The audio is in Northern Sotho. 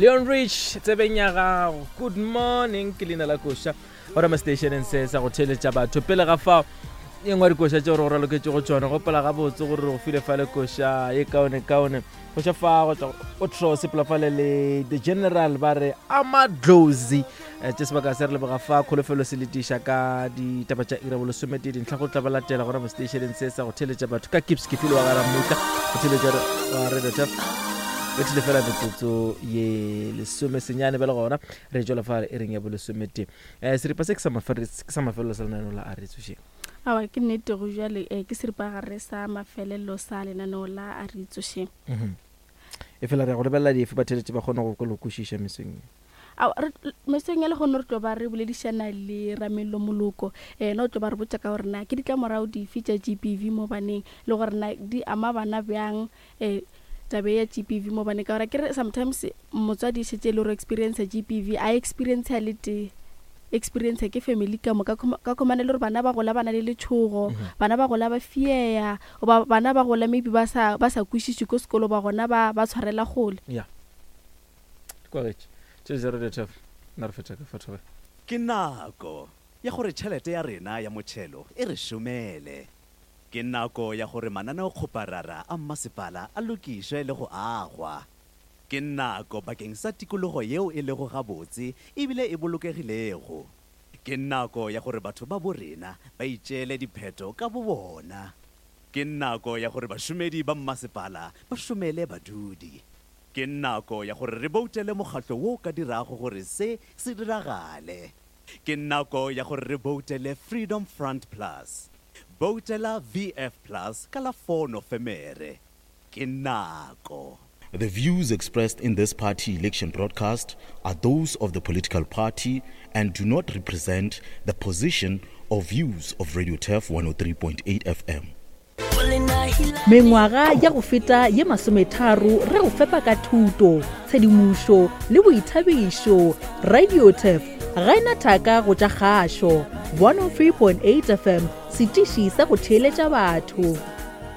Leon Rich tsebeng ya gago. Good morning ke leina la koša gona mo stationeng se sa go theeletša batho. Pele ga fao e nngwe ya dikoša tšeo re go raloketše go tšona gopola gabotse gore re go file fale koša ye kaone kaone koša fa go tšwa o tro sepela fale le the general ba re amadlozi eh, tše sebaka se re leboga fa kholofelo se letiša ka ditaba tša ira bolesomete dintlha go tla ba latela gona mo stationeng se sa go theletša batho ka kips ke file wa gara mmutla go theletša wa radio tap bethile fela metsotso ye lesome senyane bjale gona re tšwela fa e reng ya bolesomete um eh, seripa se ke sa mafelelo sa lenaneo la a re tsošeng awa ke nnete go jale um ke seripa gare sa mafelelo sa lenaneo la a re tsošeng mhm. E fela re ya go lebelela dife batheeletši ba kgone go le kwešiša mesong ye? Ao, re, mesong ya lehono re tlo ba re boledišana le Ramello Moloko. Yena o tlo ba re botša ka gore na ke ditlamorago dife tša GBV mo baneng le gore na di ama bana bjang um taba ya GBV mo baneng. Ka gore akere sometimes motswadi e šetše e le gore o experience GBV, a experience a le tee, experience ke family ka moka. Ka khomana e le gore bana ba gola ba na le letšhogo, bana ba gola ba fear, Goba bana ba gola maybe ba sa ba sa kwešiše ko sekolo ba gona ba ba tshwarela kgole. Ya. Di kwagetše. Tše zero the tef. Nna re fetša ka fa thobela. Ke nako ya gore tšhelete ya rena ya motšhelo e re šomele. Ke nako ya gore mananeokgoparara a mmasepala a lokišwe le go agwa. Ke nako bakeng sa tikologo yeo e lego gabotse ebile e bolokegilego. Ke nako ya gore batho ba bo rena ba itšeele diphetho ka bobona. Ke nako ya gore bašomedi ba mmasepala ba šomele badudi. Ke nako ya gore re boutele mokgatlo wo o ka dirago gore se se diragale. Ke nako ya gore re boutele Freedom Front Plus. Boutela VF Plus ka la 4 Nofemere. Ke nako. The views expressed in this party election broadcast are those of the political party and do not represent the position or views of Radio Turf 103.8 FM. Mengwaga ya go feta ye masometharo re go fepa ka thuto, tshedimošo le boithabišo. Radio Turf ga e na thaka go tša kgašo. 103.8 FM, setiši sa go theeletša batho.